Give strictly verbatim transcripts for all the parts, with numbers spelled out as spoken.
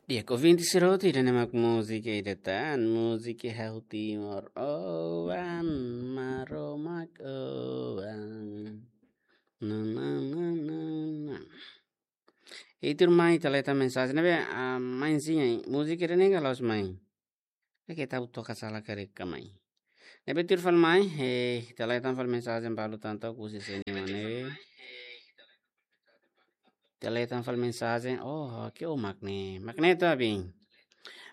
Di'ak, ouvinte sira hotu, ida-ne'e mak múzika ida tan, múzika hahú Timor. Oan, Maromak oan. Na, na, na, na, na. Ita tuir mai ita lee tan mensajen ne'ebé, ah, mai sim, múzika ida-ne'e ka la'ós mai. Oke, ita toka sala karik ka mai. Ne'ebé tuir fali mai, eh, ita lee tan fali mensajen balu tan to'o husi sé nia mak ne'e. Ita lee tan fali mensajen, oh, oke, oh, mak ne'e. Mak ne'e to'o abin.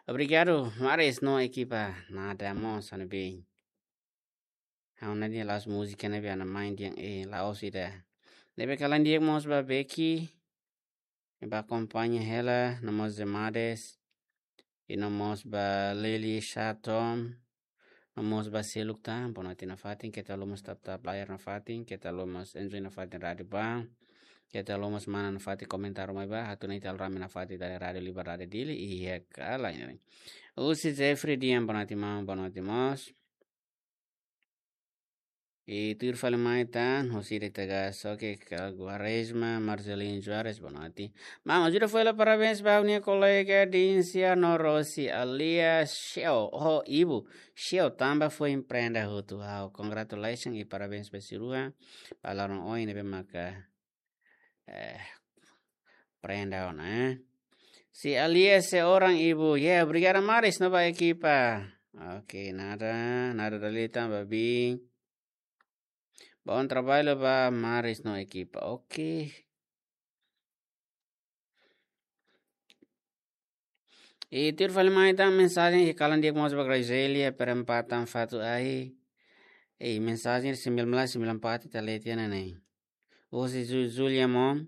Obrigadu, Maris no ekipa. Nada mós, ha'u-nia bin. Ha'u-nia dia la'ós múzika ne'ebé ha'u-nia mai dehan, eh, la'ós ida. Ne'ebé kalan di'ak mós ba Beki. Ba akompaña hela, no mós Zemades. I no mós ba Leli Shatom. No mós ba seluk tan, bonoite nafatin, keta haluha mós tap-tap layar nafatin, keta haluha mós enjoy nafatin rádiu ba. Keta haluha mós mana nafatin komentáriu mai ba, atu nune'e ita rame nafatin iha Rádiu Liberdade Dili, iha kala ini. Husi Jeffrey Dian, bonoite maun, bonoite mós. I tuir fali mai tan, husi ida ita gas, oke, ka Quaresma, Marcelino Soares, bonoite. Maun, ajuda fó hela parabéns ba ha'u-nia kolega Dincia no Rosi alias Sheo, ho ibu, Sheo tanba foin prenda hotu ha'u. Congratulations i parabéns ba sira rua, ba laran oin ne'ebé maka, eh, prenda ona, eh. Si alias seorang ibu, ya, obrigada Maris no ba ekipa. Oke, nada, nada dali tan ba bin. Bom trabalho ba Maris no ekipa. Oke. I tuir fali mai tan mensajen iha kalan di'ak mós ba Grazelia, perempatan Fatu Ai. Eh, mensajen sembilan belas sembilan puluh empat ita lee tiha ona ne'e. Husi Ju-, Julia Mom.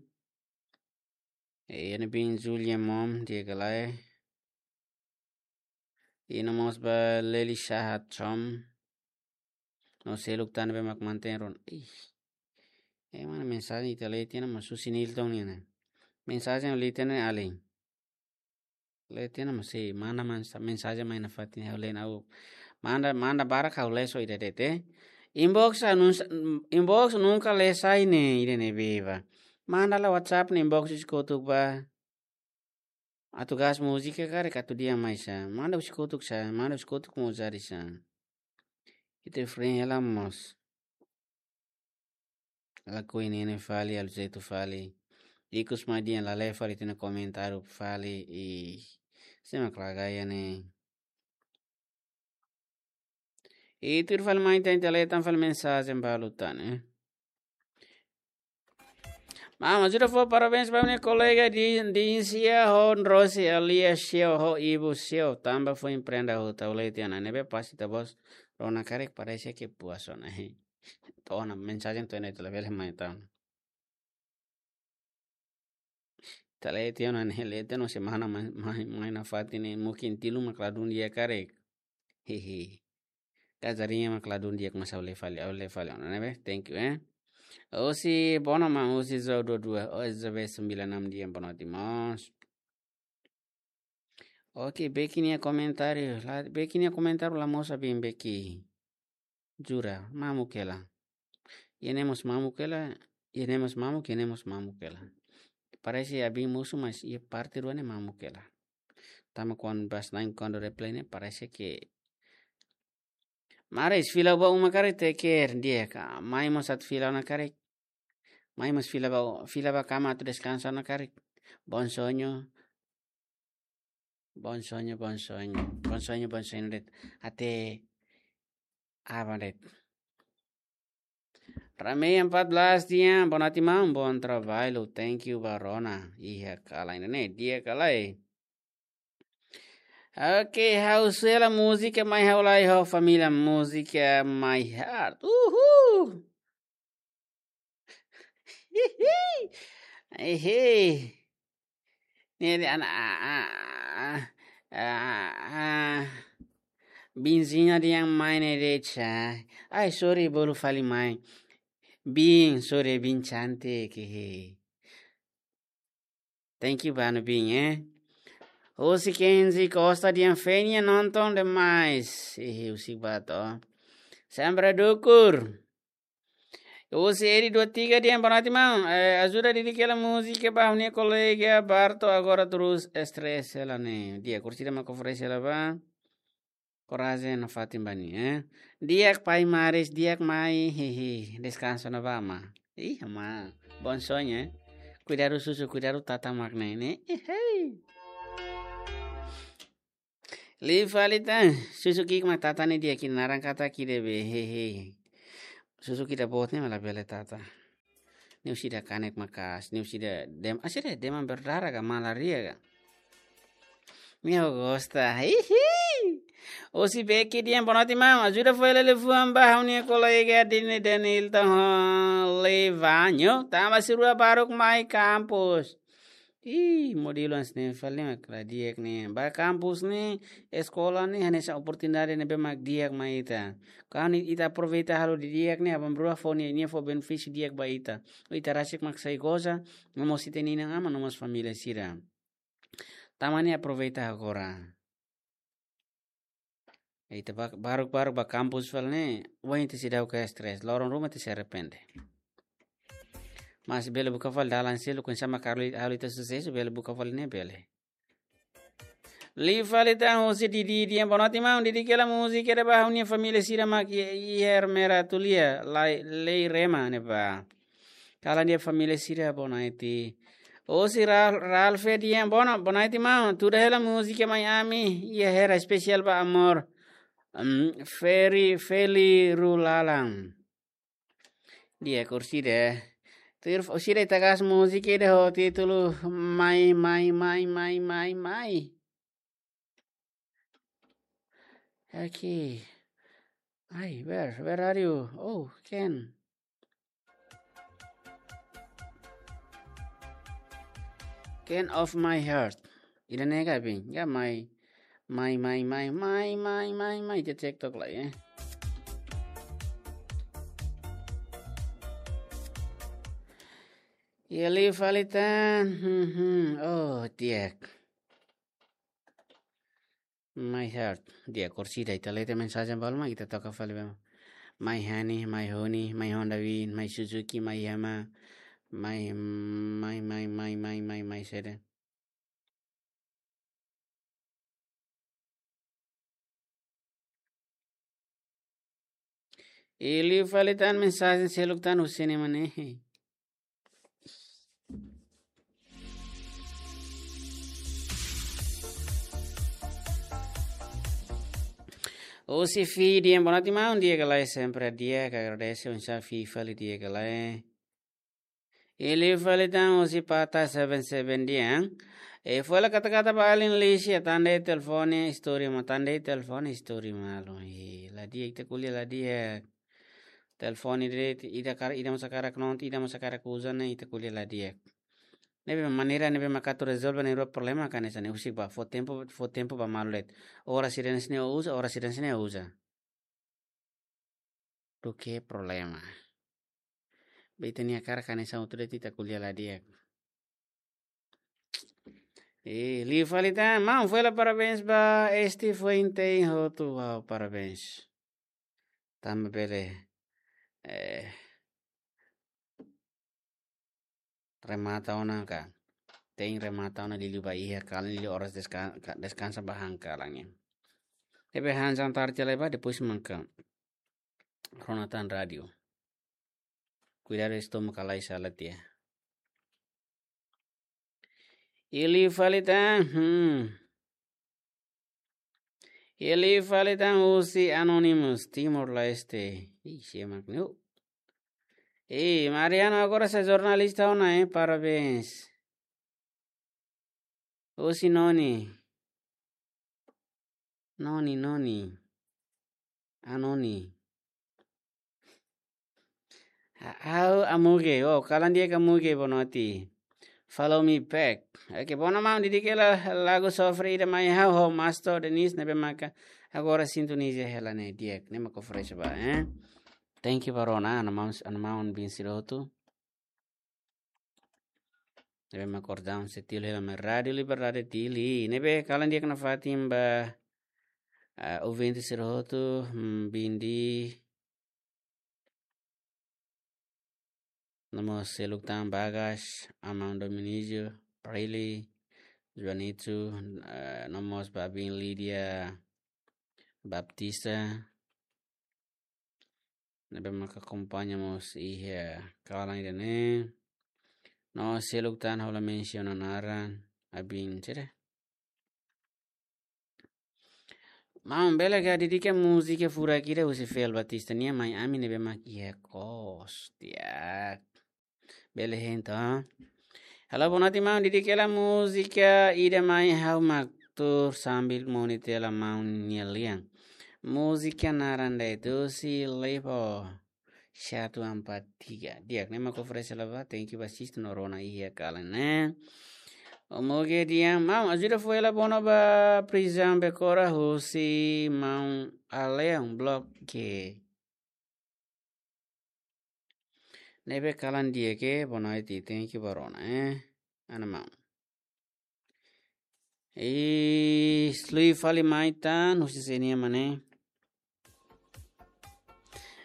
Eh, iha ne'ebé Julia Mom, di'ak ka lae. I no mós ba Leli Shahat Chom. No seluk tan ne'ebé mak mantein rona. Ih. Eh, mana mensajen ita lee tiha ona mós husi Nilton nian ne'e. Mensajen lee tiha ona alin. Lee tiha ona mós sei, manda mens-, mensajen mai nafatin ha'u lee ona. Manda, manda barak ha'u lee só ida de'it. Inbox anun-, inbox nunka lee sai ne'e, ida-ne'ebé ba. Manda lai WhatsApp ne'e inbox husi kotuk ba. Atu gas múzika karik atu dehan mai sá. Manda husi kotuk sá, manda husi kotuk mós jadi sá. Ita free hela mós. Lakohi ne'e fali, aluzetu fali. Ikus mai dehan la lee fali tiha ona komentáriu fali i sé mak la gaya ne'e. I tuir fali mai tan ita lee tan fali mensajen balu tan, eh. Maun, ajuda fó parabéns ba ha'u-nia kolega Di-, Dincia ho Rosi alias Sheo ho ibu Sheo tanba foin prenda hotu, ha'u lee tiha ona ne'ebé pasti ita-boot rona karik parese ke puas ona. To'o ona mensajen to'o ne'e ita labele mai tan. Ita lee tiha ona ne'e, lee tiha ona semana mai, mai, mai nafatin ne'e mungkin tilu mak ladún di'ak karik. Hihi. Kazariña mak ladún di'ak mós ha'u lee fali, ha'u lee fali ona ne'ebé. Thank you, eh. Husi Bono maun, husi Zo dua dua, oh, Z B sembilan enam dia bonoite mós. Oke, Beki nia komentáriu. La, Beki nia komentáriu la mosu abin Beki. Jura, mamuk hela. Iha ne'e mós mamuk hela, iha ne'e mós mamuk, iha ne'e mós mamuk hela. Parese abin mosu, mas iha parte rua ne'e mamuk hela. Tanba kuandu bas lain kuandu reply ne'e parese ke Maris, fila ba uma karik, take care, di'ak ka. Mai mós atu fila ona karik. Mai mós fila ba, fila ba kama atu deskansa ona karik. Bom sonho. Bom sonho, bom sonho. Bom sonho, bom sonho de'it. Até aban de'it. Ramei empat belas dia, bonoite maun, bom trabalho. Thank you ba rona. Iha kala ini ne'e, di'ak ka lae. Oke, ha'u sei hela múzika mai ha'u lai ho família múzika My Heart. Uhul! Hihi. Ehe. Ne'e dehan, ah, ah, ah, ah, ah. Binzinha dehan mai ne'e de'it sá. Ai, sorry, bolu fali mai. Bin, sorry, bin cantik, hehe. Thank you ba ha'u-nia bin, eh. Husi Kenzi Costa dehan Fenia nonton demais. Ih, husi Bato. Sempre dukur. Husi Edi dua tiga dehan, boa noite, maun. Eh, ajuda didik hela múzika ba ha'u-nia kolega Barto, agora terus estresse hela ne'e. Di'ak, orsida mak oferese hela ba. Korajen nafatin ba nia, eh. Di'ak pai Maris, di'ak mai, hehe. Deskansa ona ba, ma. Ih, ma. Bom sonho, eh. Kuidadu susu, kuidadu tata mak ne'e, ne'e. Ih, hei. Liu fali tan, susu ki'ik mak tata ne'e di'ak, nia naran katak ida be, hehe. Susu ida boot ne'e mak labele tata. Ne'e husi ida kanek maka'as, ne'e husi ida dem-, ah, husi ida deman berdarah ka, malaria ka. Meu gosta, hihi. Husi Beki dehan, boa noite, maun. Ajuda fó hela liafuan ba ha'u-nia kolega Dini Denilton Levanho. Tanba sira rua baruk mai kampus. Ih, modelu hanesan ne'e fali mak la di'ak ne'e. Ba kampus ne'e, eskola ne'e, hanesan oportunidade ne'ebé mak di'ak mai ita. Kuandu ita aproveita halo didi'ak ne'e, aban-bainrua fó nia, nia fó benefísiu di'ak ba ita. Ita rasik mak sai goza, no mós ita-nia inan-aman, no mós família sira. Tanba ne'e aproveita agora. Ita ba-, baruk-baruk ba kampus fali ne'e, oin ita seidauk iha estresse, loron ruma ita sei arrepende. Mas bele buka fali dalan seluk, oinsá mak halo, halo ita susesu, bele buka fali ne'e bele. Liu fali tan husi Didi dehan, boa noite, maun, didik hela múzika ida ba ha'u-nia família sira mak iha, iha Ermera Tulia, Lai, Lei Rema ne'ebá. Kalan di'ak família sira, boa noite. Husi Ra-, Ralfe dehan, boa no-, boa noite, maun. Tuda hela múzika mai ami, iha hera espesiál ba amor. Em, Feri, Feli Rulalan. Di'ak, orsida. Tuir orsida ita hakat múzika ida ho títulu Mai, Mai, Mai, Mai, Mai, Mai. Okay. Ai, where, where are you? Oh, Ken. Ken of my heart. Ida-ne'e ka, bin? Ya, Mai, Mai, Mai, Mai. Ita cektok lai, eh. Ya, liu fali tan. Hmm, hmm. Oh, di'ak. My heart. Di'ak, orsida, ita lee tiha mensajen balu mak ita toka fali ba. My honey, my honey, my Honda Win, my Suzuki, my Yamaha, my, my, my, my, my, my, my saida. I liu fali tan mensajen seluk tan husi ne'e mak ne'e. Husi Fi dehan, boa noite, maun, di'ak ka lae? Sempre di'ak, agradese, oinsá Fi fali, di'ak ka lae? I liu fali tan husi Pata seven seven dehan, eh, fó hela kata-kata ba alin Lisia, tan de'it telefone istori malu, tan de'it telefone istori malu. Eh, la di'ak, ita ko'alia la di'ak. Telefone de'it, ita kar-, ita mós hakarak nonton, ita mós hakarak uza ne'e, ita ko'alia la di'ak. Ne'ebé maneira ne'ebé mak atu rezolve nia problema ka hanesan ne'e, husik ba, fó tempu, fó tempu ba malu de'it. Oras sira-ne'e uza, oras sira-ne'e uza. Duké problema. Be ita-nia hakarak hanesan hotu de'it, ita ko'alia la di'ak. Eh, liu fali tan, maun, fó hela parabéns ba Esti Fuente hotu, wow, parabéns. Tanba bele, eh, remata ona ka. Tein remata ona liuliu ba iha kalan, liuliu oras deska-, ka-, deskansa ba han kalan ne'e. Ne'ebé han jantar tiha lai ba, depois maka rona tan rádiu. Kuidadu estómagu ka lae sala tiha. I liu fali tan, hmm. I liu fali tan husi Anonymous, Timor-Leste. Ih, sé mak ne'e. Ei, Mariano, agora sai jornalista ona, eh? Parabéns. Husi Noni. Noni, Noni. Anoni. Ha-, ha'u Amuge, oh, kalan di'ak Amuge, boa noite. Follow me back. Oke, boa no maun, didik hela lagu sofre ida mai ha'u ho Master Denise ne'ebé maka agora sintoniza hela ne'e di'ak, ne'e mak oferese ba, eh. Thank you ba rona, ana maun, ana maun bin sira hotu. Ne'ebé mak kordau setil hela mai Rádiu Liberdade Dili. Ne'ebé kalan di'ak nafatin ba, ah, ouvinte sira hotu, hmm, bin di No mós seluk tan Bagas, Amando Minizio, Prilly, Juanito, eh, no mós ba abin Lídia Baptista. Ne'ebé maka akompaña mós iha kalan ida-ne'e. No seluk tan ha'u la mensiona naran, abin sira. Maun, bele ka dedika múzika furak ida husi Fel Batista nian mai ami ne'ebé mak iha kos. Di'ak. Bele hein to. Halo, boa noite, maun. Dedika hela múzika ida mai ha'u mak tuur sambil monitor hela maun nia lian. Múzika naran de'it husi Levo satu empat tiga. Di'ak, ne'e mak oferese hela ba. Thank you ba sister no rona iha kalan ne'e. Omoge di'ak, maun, ajuda fó hela Bono ba Prizaun Becora husi maun Aleon Block ke. Ne'ebé kalan di'ak ke, boa noite, thank you ba rona, eh. Ana maun. Ih, lui fali mai tan, husi senia mane.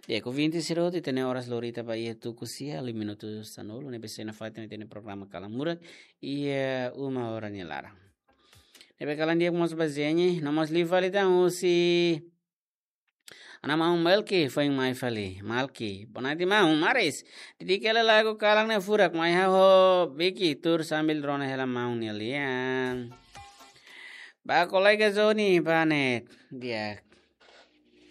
Di'ak, ouvinte sira hotu, ita-nia oras lori ita ba iha tuku sia, lui minutu sanulu, ne'ebé sei nafatin ita-nia programa Kalan Murak, iha uma hora nia laran. Ne'ebé kalan di'ak mós ba Zenye, no mós lui fali tan husi Ana maun Malki, foin mai fali. Malki, boa noite maun, maris. Dedika hela lagu kalan ne'e furak mai ha'u ho Biki, tuur sambil rona hela maun nia lian. Ba kolega Joni, ba ne'e. Di'ak.